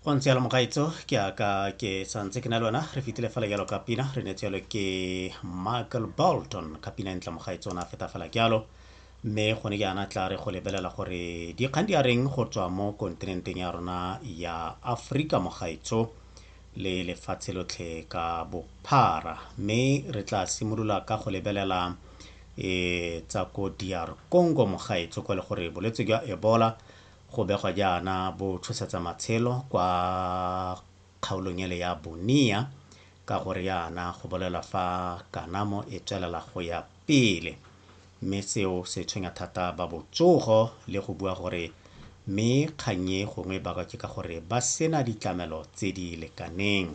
Go ntse jalo mogaetso, ke aka ke santse ke na le wena. Re fetile fela jalo ka pina re neetse jalo ke Michael Bolton ka pina e ntle mogaetso, o ne a feta fela jalo. Mme gone jaana tla re go lebelela gore dikgang di a reng go tswa mo kontinenteng ya rona ya Aforika mogaetso le lefatshe lotlhe ka bophara. Mme re tla simolola ka go lebelela tsa ko DR Congo mogaetso, kwa le gore bolwetse jwa Ebola go begwa jaana bo tshosetsa matshelo kwa kgaolong ele ya Bunia, ka gore jaana go bolelwa fa kanamo e tswelela go ya pele, mme seo se tshwenya thata ba botsogo le go bua gore mme kgang e gongwe bakwa ke ka gore ba sena ditlamelo tse di lekaneng.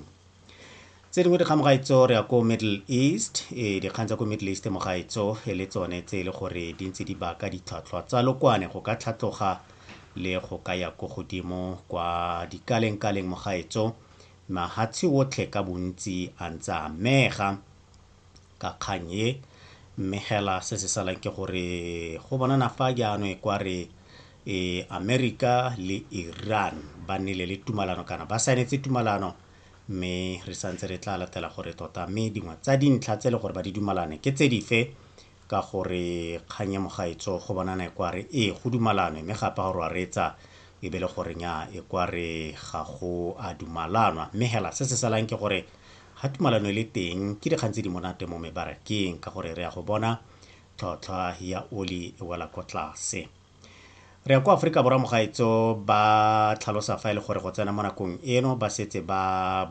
Tse dingwe dikgang mogaetso, re ya ko Middle East. Dikgang tsa ko Middle East mogaetso e le tsone tse e le gore di ntse di baka ditlhwatlhwa tsa lokwane go ka tlhatloga le go ka ya ko godimo kwa dikaleng-kaleng mogaetso. Mahatshe otlhe ka bontsi a ntse a amega ka kgang e, mme hela se se salang ke gore go bonana fa jaanong e kwa re America le Iran ba nnile le tumalano kana ba saenetse tumalano, mme re santse re tla latela gore tota mme dingwe tsa dintlha tse e le gore ba di dumalane ke tse dife, ka gore kgang ya mogaetso go bonana e kwa re ee go dumalanwe, mme gape ga re a reetsa e be le gore nya e kwa re ga go a dumalanwa. Mme hela se se salang ke gore ga tumalano e le teng ke dikgang tse di monate mo mebarakeng, ka gore re ya go bona tlhotlhwa ya oli e wela ko tlase. Re ya kwa Aforika Borwa mogaetso, ba tlhalosa fa e le gore go tsena mo nakong eno ba setse ba